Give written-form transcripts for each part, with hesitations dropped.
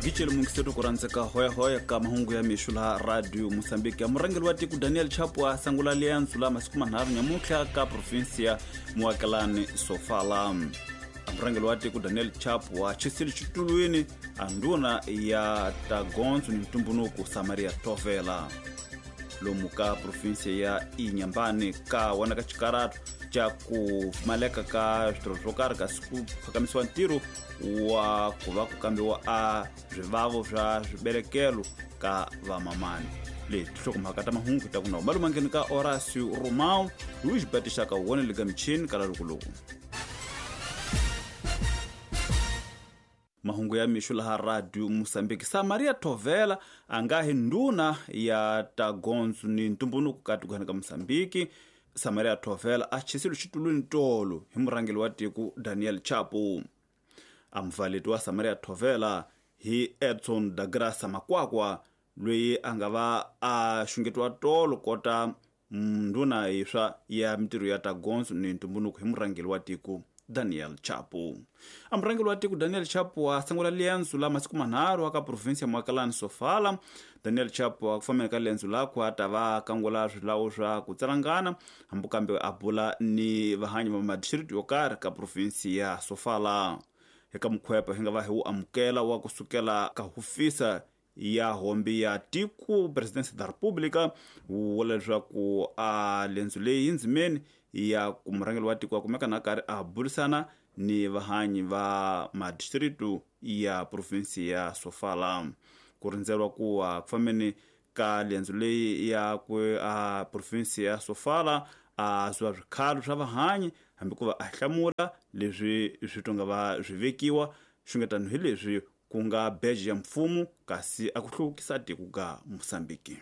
Gicele mungiseto ku rhandzeka hoyahoya ka mahungu ya mixo laha Radio Mosambiki. Ya murhangeri wa tiko Daniel Chapo a sangula liendzo la masiku manharhu nyamuntlha ka provinsia Muakelani Sofala. Murhangeri wa tiko Daniel Chapo a chisile xitulwini a ndhuna ya tagondzo ni ntumbunuko Samaria Tovela. Lomu ka provinsia ya Inhambane ka wona ka xikaratu xa ku pfumaleka ka switirho swo karhi kasi ku phakamisiwa ntirho wa ku va ku kambiwa a swivavo swa swibelekelo ka vamamani. Leti tinhlokomhaka ta mahungu ta ku na malumangeni ka Horacio Romao loyi xibati xa ka wona le ka michini ka lalukuluku. Mahungu ya mixo laha Radio Mosambiki. Samaria Tovela a nga hi ndhuna ya tagondzo ni ntumbunuko ka tikweni ka Mosambiki. Samaria Tovela a chisile xitulwini tolo hi murhangeri wa tiko Daniel Chapo. A mupfaleti wa Samaria Tovela hi Edson da Graça Makwakwa loyi a nga va a xungetiwa tolo kota ndhuna yiswa ya mintirho ya tagondzo ni ntumbunuko hi murhangeri wa tiko Daniel Chapo. A murhangeri wa tiko Daniel Chapo a sungula liendzo la masiku manharhu aka provinsia Muakelani Sofala. Daniel Chapo a ku fambeni ka liendzo lakwe a ta va kangula swilawu swa ku tsalangana hambi kambe a bula ni vahanyi va madistrikti yo karhi ka provinsi ya Sofala. Eka mukhwepa hi nga va hi wu amukela wa kusukela ka hofisa ya hombi ya tiko Presidency da República wu vula leswaku a lendzo leyi ndzimeni ya ku murhangeri wa tiko a kumeka na karhi a burisana ni vahanyi va madistritu ya provinsi ya Sofala. Ku rindzeriwa ku a ku fambeni ka lendzo leyi ya ku a provinsi ya Sofala a zuwa swikhalo swa vahanyi hambi ku va a hlamula leswi swi tonga va swi vekiwa xungetano hi leswi ku nga beji ya mfumo kasi a ku hluvukisa tiko ka Mosambiki.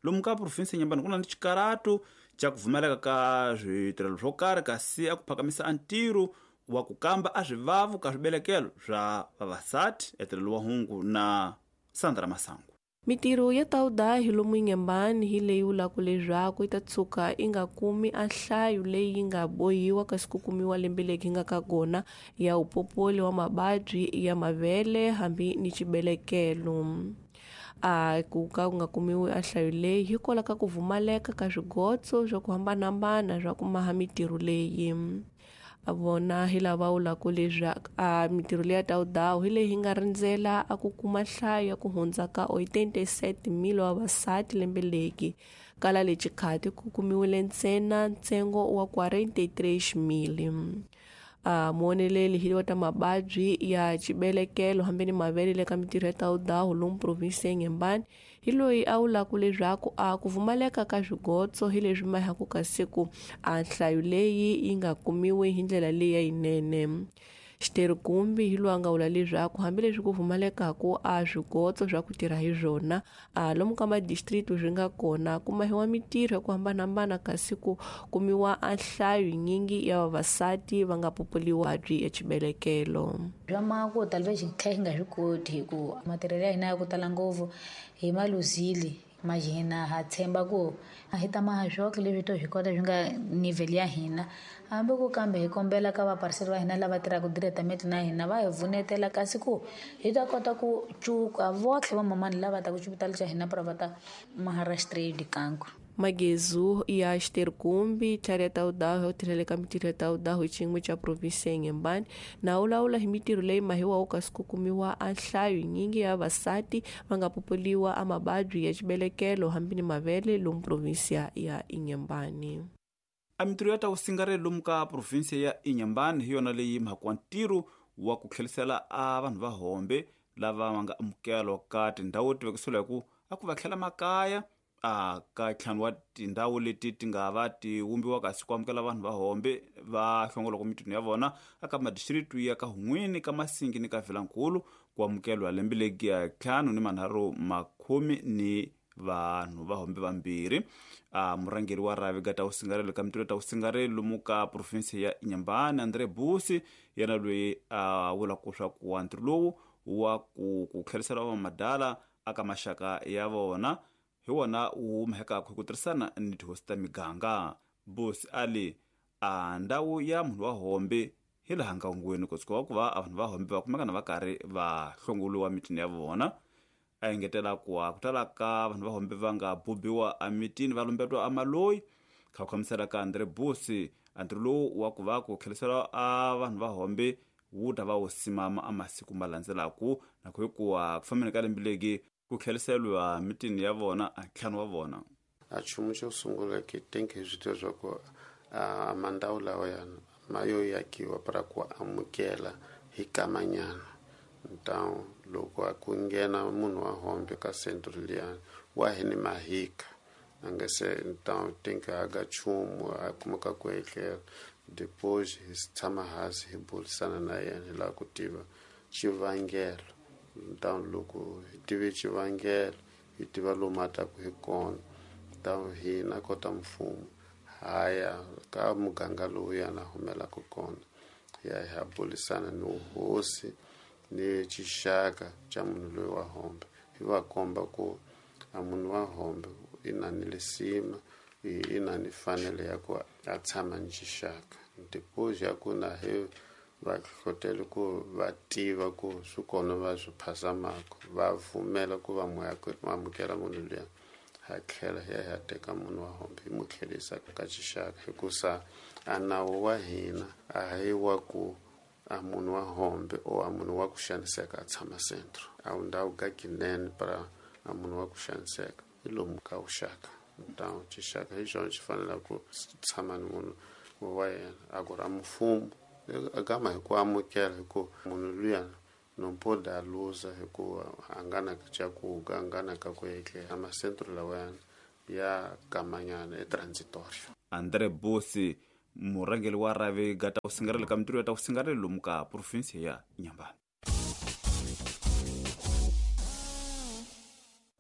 Lomu ka provinsi ya Inhambane ku na ni xikaratu xa ku pfumaleka ka switirhelo swo karhi kasi a ku phakamisa a ntirho wa ku kamba a swivavu ka swibelekelo swa vavasati. Etirhelo wa hungu na Sandra Masangu. Mitirho ya tawuda hi lomu Inhambane hi leyi vulaka leswaku yi ta tshuka yi nga kumi a nhlayo leyi yi nga bohiwa kasi ku kumiwa lembe leri yi nga ka kona ya upopoli wa mavabyi ya mavele hambi ni xibelekelo. A ku ka ku nga kumiwi a nhlayo leyi hikwalaho ka ku pfumaleka ka swigotso swa ku hambanahambana swa ku maha mitirho leyi. A vona hi lava vulaka leswaku a mitirho leyi ya tawudawu hi leyi yi nga rindzela a ku kuma nhlayo ya ku hundza ka 87,000 wa vavasati lembe leri. Kala le xikhati ku kumiwile ntsena ntsengo wa 43,000. A muoneleli hi wa ta mavabyi ya xibelekelo hambi ni mavele le ka mitirho ya tawudawu lomu provinsi ya Inhambane hi loyi a vulaka leswaku a ku pfumaleka ka swigotso hi leswi mahaku ka siku a nhlayo leyi yi nga kumiwi hi ndlela leyi ya yinene. Xiterhikumbi hi loyi a nga vula leswaku hambileswi ku pfumalekaku a swigotso swa ku tirha hi swona a lomu ka madistrikti swi nga kona ku mahiwa mitirho ya ku hambanahambana kasi ku kumiwa a nhlayo yinyingi ya vavasati va nga populiwa vuvabyi ya xibelekelo. Swa mako tala va xi kha hi nga swi koti hi ku matirhelo ya hina ya ku tala ngopfu hi maluzile mahina ha tshemba ku a hi ta maha swoxe leswi to swi kota swi nga nivel ya hina hambi ku kambe hi kombela ka vapariseri va hina lava tirhaka diretamete na hina va hi vunetela kasi ku hi ta kota ku cuka votlhe va mamani lava ta ku xipitali xa hina pra va ta Maharashtra dikanku. Magezu ya xiterhikumbi tlhari ya tawudawu hi tirhele ka mitirho ya tawudawu hi xiyimo xa provinsi ya Inhambane na wulawula hi mitirho leyi mahiwaku kasi ku kumiwa a nhlayo yinyingi ya vavasati va nga populiwa a mavabyi ya xibelekelo hambi ni mavele lomu provinsi ya Inhambane. A mitirho ya tawusingarelo lomu ka provinsi ya Inhambane hi yona leyi mhaka ntirho wa ku tlherisela a vanhu va hombe lava va nga amukelwa ka tindhawu ti vekisiwa hi ku a ku va tlhela makaya a ka ntlhanu wa tindhawu leti ti nga va ti wumbiwa kasi ku amukela vanhu va hombe va hlongolaka mitirho ya vona aka madistrikti ya ka Hun'wini ka Masingi ni ka Vilankulu ku amukelwa lembe legi ya ntlhanu ni manharhu makhume ni vanhu va hombe vambirhi. A murhangeri wa rhavi ga tawusingarelo ka mitirho ya tawusingarelo lomu ka provinsi ya Inhambane Andre Busi yena loyi a vulaka swa ku ntirho lowu wa ku tlherisela va madala aka maxaka ya vona hi wona wu humekaka hi ku tirhisana ni tihosi ta miganga. Busi ali a ndhawu ya munhu wa hombe hi laha nkangweni kusuka wa ku va a vanhu va hombe va kumekana va karhi va hlongoliwa mitini ya vona. A engetela ku a ku tala ka vanhu va hombe va nga bubiwa emitini va lumbetiwa amaloyi. Kha ku khamisela ka Andre Busi, antirho lowu wa ku va ku tlherisela a vanhu va hombe wu ta va wu simama a masiku ma landzelaku, na ku hikuva ku fambeni ka lembe legi ku tlheriseriwa mitini ya vona a ntlhanu wa vona. A nchumu xo sungula ke think hi swi tiva swa ku a mandhawu lawa yana ma yo yakiwa para ku amukela hi kamanyana. Então loko a ku nghena munhu wa hombe ka centro liyani wa hi ni mahika a nga se, então think a ga nchumu a kumeka ku etlela. Depois hi tshama hansi hi burisana na yena hi lava ku tiva xivangelo. Então loko hi tive xivangelo hi tiva lomu a taku hi kona, então hina kota mfumo haya ka muganga lowu yana humelaka kona, hi ya hi ya burisana ni hosi ni xixaka xa munhu loyi wa hombe, hi va komba ku a munhu wa hombe i na ni lisima, i na ni fanele ya ku a tshama ni xixaka. Depois ya ku na hi va hlohlotela ku va tiva ku swi kona va swi phasamaka, va pfumela ku va amukela munhu luya, ha tlhela hi ya hi ya teka munhu wa hombe hi mu tlherisa ka xixaka. Hikusa a nawu wa hina a hi wa ku a munhu wa hombe o a munhu wa ku xaniseka a tshama centro, a wu ndhawu ka kinene para a munhu wa ku xaniseka hi lomu ka vuxaka. Então xixaka hi xona xi faneleke ku tshama ni munhu wa yena. A ku ra mfumo a gama hi ku amukela, hi ku munhu luya no pode a luza hikuva a nga na cakuga, a nga na ka ku etlela. Masentro lawayana ya kamanyana e transitorio. Andre Busi, murhangeri wa rhavi ga ta ku singarela ka mintirho ya ta ku singarela lomu ka province ya Inhambane.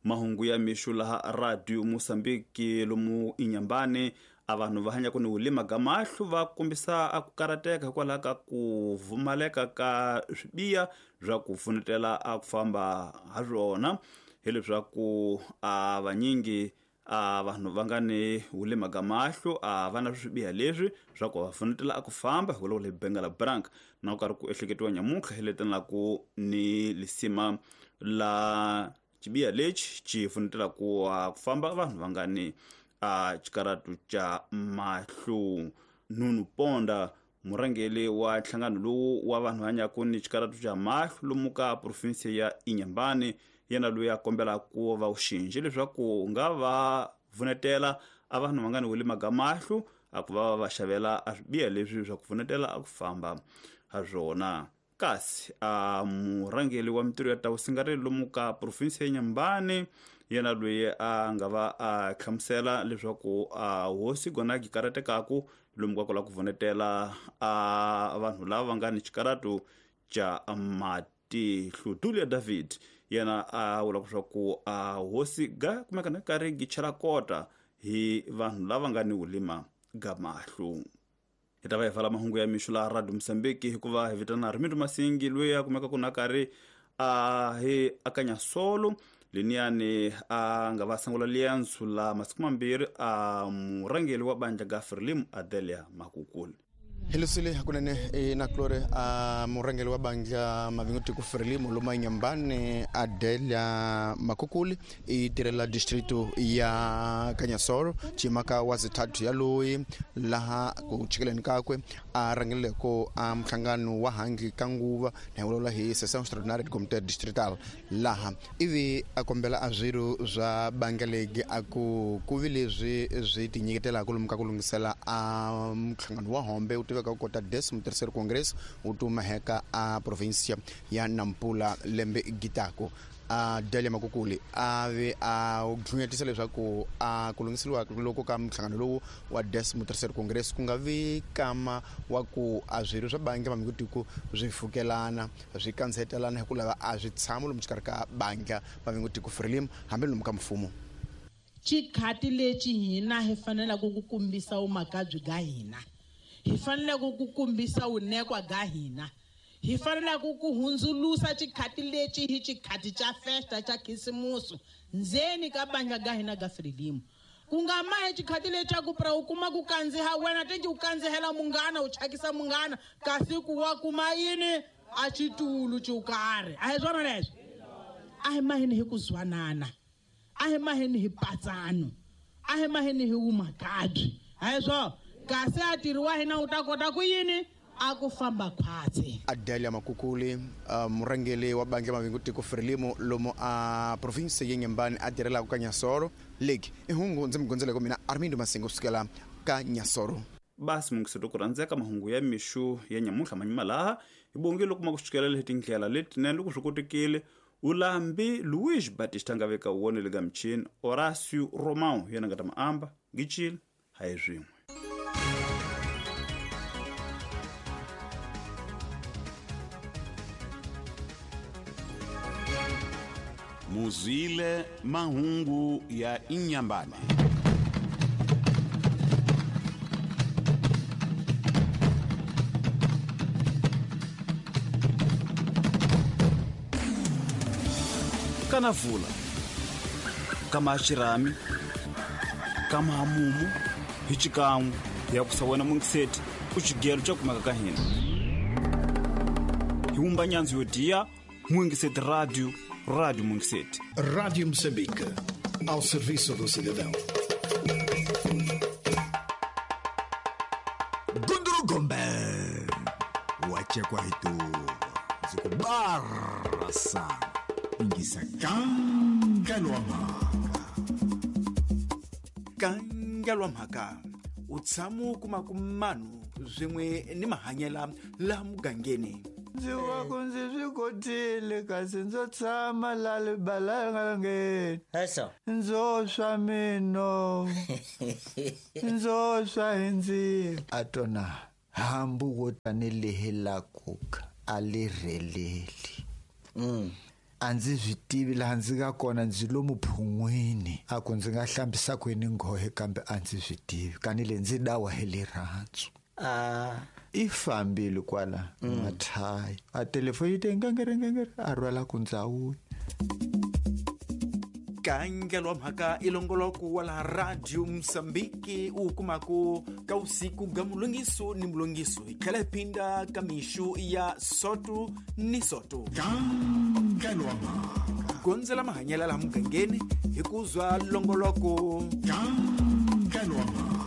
Mahungu ya mixo laha Radio Mozambique lomu Inhambane, a vanhu va hanyaka ni wulima ga mahlo va kombisa a ku karateka hikwalaho ka ku pfumaleka ka swibiya swa ku pfunetela a ku famba ha swona, hileswaku a vanyingi a vanhu va nga ni wulima ga mahlo a va na swibiya leswi swa ku va pfunetela a ku famba hikwalaho le Bengala Brank na ku karhi ku ehleketiwa nyamuntlha hi letelaka ni lisima la xibiya lexi xi pfunetela ku famba vanhu va nga ni a xikaratu xa mahlo. Nunu Ponda, murhangeri wa nhlangano lowu wa vanhu hanyaka ni xikaratu xa mahlo lomu ka province ya Inhambane, yena loyi a kombela ku va uxinji leswaku nga va pfunetela a vanhu va nga ni wulima ga mahlo a ku va va xavela a swibiya leswi swa ku pfunetela a ku famba ha swona. Kasi a murhangeri wa mintirho ya ta vusingareli lomu ka province ya Inhambane, yena loyi a nga va a hlamusela leswaku a hosi gona gi karatekaku lomu ka ku lava ku pfunetela a vanhu lava va nga ni xikaratu xa matihlo. Julia David yena a vula leswaku a hosi ga kumeka na karhi gi chela kota hi vanhu lava nga ni wulima ga mahlo. Hi ta va hi vala mahungu ya mixo laha Radio Mozambique hikuva hi vitana Rimindo Masingi loyi a kumeka ku na karhi a hi akanya solo leniyani a nga va sangula liyansu la masiku mambirhi a murhangeri wa bandla ga Frelimo Adelia Makukuli. Helusile hakunene na Klore a murhangeri wa bandla Mavingo Frelimo loma Inhambane Adelia Makukuli i tirhela distrito ya Kanyasoro chimaka wa zithathu ya loyi laha ku chikeleni kakwe a rhangeleko a mhlangano wa hangi ka nguva na vulavula hi session extraordinaire de comité distrital laha ivi a kombela a swirho swa bandla legi a ku vi leswi swi tinyiketelaka lomu ka ku lunghisela a mhlangano wa hombe wu tiveka ku kota décimo terceiro congresso wu tumaheka a província ya Nampula lembe gitako. A Delia Makukuli a ve a dlunyetisa leswaku a ku lunghiseriwa loko ka mhlangano lowu wa décimo terceiro congresso ku nga vi kama wa ku a swirho swa bandla Mavingo swi fukelana swi kansetelana hi ku lava a swi tshama lomu xikarhi ka bandla Mavingo Frelimo hambi lomu ka mfumo. Xikhati lexi hina hi faneleke ku kombisa vumakabyi bya hina, hi faneleke ku kombisa vunekwa bya hina, hi faneleke ku hundzulusa xikhati lexi hi xikhati xa festa xa khisimusi ndzeni ka bandla ga hina ga Frelimo. Ku nga mahi xikhati lexaku pra u kuma ku kandziha wena tinji u kandzihela munghana u chakisa munghana kasi ku wa kuma yini a xitulu xo karhi. A hi swona leswo? A hi maheni hi ku zwanana, a hi maheni hi patsano, a hi maheni hi wumakabyi. A hi swona? Kasi a tirhi wa hina u ta kota ku yini a ku famba khwatsi. Adelia Makukuli, murhangeri wa bandla Mavingo Tiko Frelimo lomu a province ya Inhambane a tirhelaka ka Nyasoro. Legi i hungu ndzi mi gondzeleke mina Armindo Masingo kusukela ka Nyasoro. Basi mungiseto ku rhandzeka mahungu ya mixo ya nyamuntlha manyuma laha hi bongile loko ma ku sukela hi tindlela letinene loko swi kotekile. Ulambi Luis Batista nga veka wona le ka michini, Horacio Romão yena nga ta maamba ngicile hayi swin'we. Muzwile mahungu ya Inhambane. Kana vula kama xirhami kama hamumu hi xikan'we ya ku sa wena mungiseti u xigelo xa kumeka ka hina hi wumba nyandzu yo diya Mungiseti Radio, Rádio Mungiseti. Rádio Moçambique, ao serviço do cidadão. Gunduru Gombe, wachekwa hitu zikubarasa ingisa kangalwa mhaka. Kangalwa mhaka u tshama kuma kumanu swin'we ni mahanyela la mugangeni. Ndzi wa ku ndzi swi kotile kasi ndzo tshama la libalangeni. Ndzo swa mino, ndzo swa hi ndzilo. A tona hambu wo tanihi la kuka a li rheleli. A ndzi swi tivi laha ndzi nga kona, ndzi lomu phun'wini. A ku ndzi nga hlambisa kwini nghohe kambe a ndzi swi tivi kanile ndzi dawa hi rirhandzu. I fambile kwala mathayi a telefoni yi te ngengere ngengere a rhwala ku ndzawuya. Kangelwa mhaka i longoloko wa laha Radio Mozambique u kumaka ka usiku ga mulongiso ni mulongiso hi tlhela hi phinda ka mixo ya soto ni soto. Kangelwa mhaka gondzela mahanyela laha mugangeni hi ku zwa longoloko. Kangelwa mhaka.